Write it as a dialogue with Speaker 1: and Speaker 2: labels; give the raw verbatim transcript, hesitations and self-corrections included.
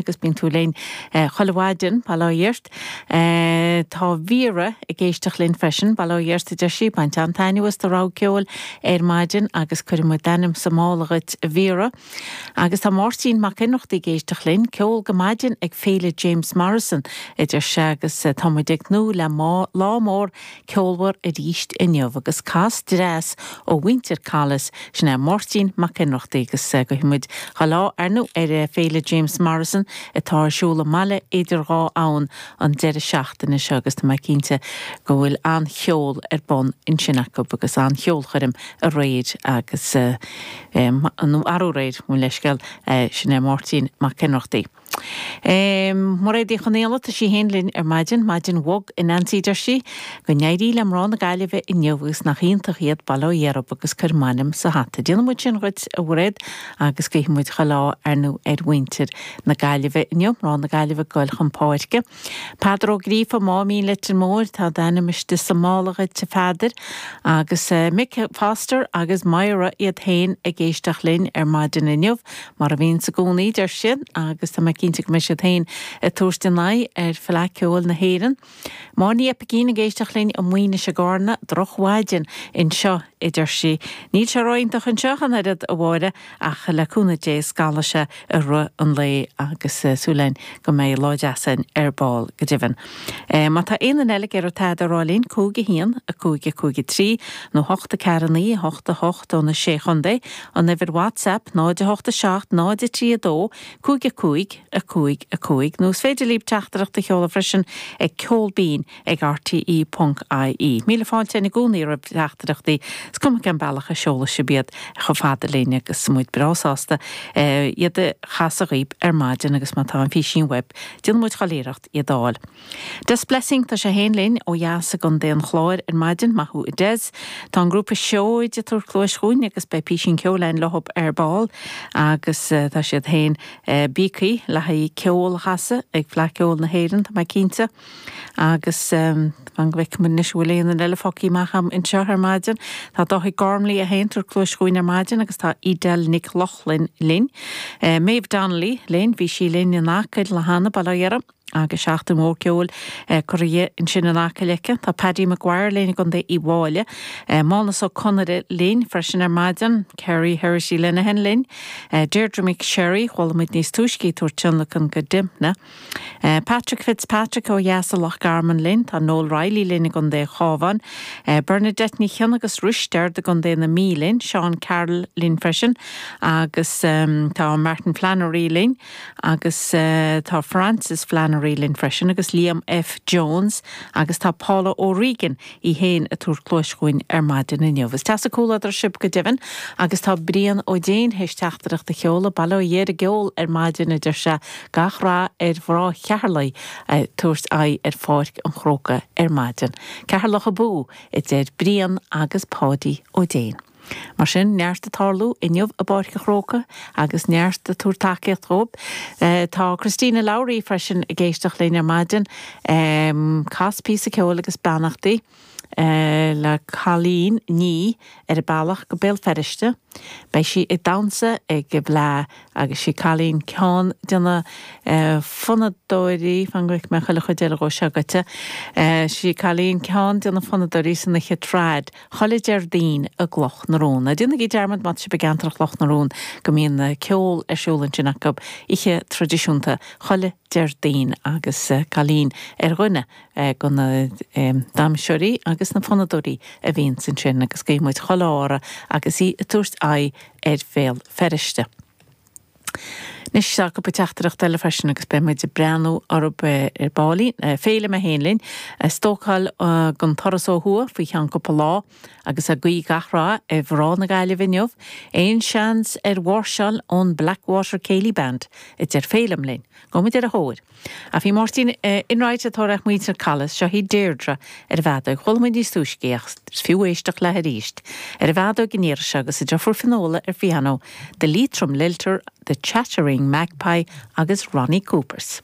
Speaker 1: Agus bíonn tú linn chuile mhaidin, bail ó Dhia ort. Tá Vera ag éisteacht linn freisin, bail ó Dhia ort, a deir sí, baint an-taitneamh as do rogha ceoil ar maidin agus cuirfidh muid d'ainm sa mála dhuit, a Vera. Agus tá Máirtín Mac Ionnrachtaigh ag éisteacht linn, ceol go maidin ag Féile James Morrison, a deir sé, agus tá muid ag tnúth le lá mór ceolmhar arís inniu agus cas dreas ó mhuintir Collis, sin é Máirtín Mac Ionnrachtaigh agus guífidh muid chuile ádh ar ndóigh ar Féile James Morrison atá ar siúl i mbaile idir dhá abhainn an deireadh seachtaine seo agus tá mé cinnte go bhfuil an-cheol ar bun ansin acu agus an-cheolchoirm aréir agus nó arú aréir, mo leithscéal, sin é Máirtín Mac Ionnrachtaigh. Mairéad Uí Chonaola, tá sí féin linn ar maidin, maidin bhog a Neansaí deir sí, go n-éirí le mná na Gaillimhe inniu agus nach iontach iad bail ó Dhia orthu agus cuir m'ainm sa hata. Déanfaidh muid sin dhuit a Mhairéad agus guífidh muid chuile ádh ar ndóigh ar mhuintir na Gaillimhe inniu, mná na Gaillimhe ag goil chun páirce. Peadar Ó Gríofa, Máimín Leitir Móir, tá d'ainm istigh sa mála dhuit a Pheadair agus Mick Foster agus Myra iad féin ag éisteacht linn ar maidin inniu, mar a bhíonns i gcónaí deir siad agus tá mé cinnte go mbeidh siad féin ag tabhairt a n-aghaidh ar Fhleadh Ceoil na hÉireann. Máire Ní Oipeigín ag éisteacht linn i Maínis i gCarna, drochmhaidin anseo, a deir sí. Níl sé ró-iontach anseo ach an oiread, a Mháire, ach le cúnamh Dé scalfaidh sé i rith an lae agus súil againn go mbeidh lá deas againn ar ball go deimhin. Má tá aon duine eile ag iarraidh tada a rá linn, cúig a haon, a cúig a cúig a trí, nó hocht a ceathair a naoi, a hocht a hocht ó na Sé Chontae, an uimhir WhatsApp, náid a hocht a seacht, náid a trí a dó, cúig a cúig, a cúig, a cúig, nó is féidir libh teachtaireacht a sheoladh freisin ag ceolbinn ag rte ponc ie. Míle fáilte i gcónaí roimh teachtaireachtaí, is cuma cén bealach a seolfaidh sibh iad chomh fada linn agus muid breá sásta iad a chasadh dhaoib ar maidin agus má tá an físín uaibh, déanfaidh muid chuile iarracht iad a fháil. Des Blessing, tá sé féin linn ó dheas i gContae an Chláir ar maidin, maith thú a Des. Tá an grúpa Seoid ag tabhairt cluais chugainn agus beidh písín ceoil againn leothab ar ball agus tá siad féin bíogtha le haghaidh ceol a chasadh ag Fleadh Ceoil na hÉireann, tá mé cinnte. Agus fan go bhfeicfidh muid anois an bhfuil aon duine eile fágtha amach agam anseo ar maidin. Tá Dáithí Gormley é féin ag tabhairt cluais chugainn ar maidin agus tá Edel Nic Lochlainn linn. Maeve Donnelly linn, bhí sí linn in Acaill cheana, bail ó Dhia uirthi. Agus seachtain mhór ceoil curtha di ansin in Acaill aici. Tá Paddy Maguire linn i gContae Uíbh Fhailí. Mánus Ó Conaire linn freisin ar maidin. Kerry Herity Lenihan linn. Deirdre McSherry, chuala muid níos túisce í ag tabhairt tionlacan go Dympna. Patrick Fitzpatrick ó dheas i Loch Garman linn. Tá Noel Reilly linn i gContae an Chabháin. Bernadette Ní Chionnaith agus Risteard i gContae na Mí linn. Seán Carroll linn freisin. Agus tá Martin Flannery linn. Agus tá Francis Flannery linn freisin agus Liam F. Jones agus tá Paula O'Regan í féin ag tabhairt cluais chugainn ar maidin inniu. Is deas an comhluadar sibh go deimhin agus tá Brian Ó Déin théis teachtaireacht a sheoladh, bail ó Dhia ar an gceol ar maidin a deir sé, gach rath ar mhná Cheatharlaigh ag tabhairt aghaidh ar Pháirc an Chrócaigh ar maidin. Ceatharlach abú, a deir Brian agus Páidí Ó Déin. Mar sin, neart ag tarlú inniu i bPáirc an Chrócaigh agus neart ag tabhairt tacaíocht dhóibh. Tá Christina Lowry freisin ag éisteacht linn ar maidin. Cas píosa ceoil agus beannachtaí le Colleen Ní ar a bealach go Béal Feirste. Beidh sí ag damhsa ag an bhFleadh agus sí Colleen ceann de na fonnadóirí, fan go bhfeicfidh mé chuile chuid eile dhó seo agat, sí Colleen ceann de na fonnadóirí san oíche trad chuile Déardaoin i gCloch na Rón. Ná déanaigí dearmad má tá sibh i gceantar Chloch na Rón go mbíonn ceol ar siúl ansin acu oíche traidisiúnta chuile Déardaoin agus Colleen ar dhuine de na damhsóirí agus na fonnadóirí a bhíonns ansin agus guíonn muid chuile ádh uirthi agus í ag tabhairt aghaidh ar Bhéal Feirste. Anois tá cúpla teachtaireacht eile freisin agus beidh muid ag breathnú orthu ar baillín. Féilim é féin linn, ag stócáil don turas ó thuaidh faoi cheann cúpla lá agus ag guí gach rath ar mhná na Gaillimhe inniu. Aon seans ar mháirseáil ón Blackwater Céilí Band, a deir Féilim linn. Gabhfaidh muid ar a thóir. Ach bhí Máirtín Enright ag tabhairt muintir Collis, seo í Deirdre ar an bhfeadóg. Chuala muid níos túisce í ach is fiú éisteacht léi arís. Ar an bhfeadóg an iarraidh seo agus a deirfiúr Fionnuala ar phianó, The Leitrim Lilter, The Chattering Magpie agus Ronnie Coopers.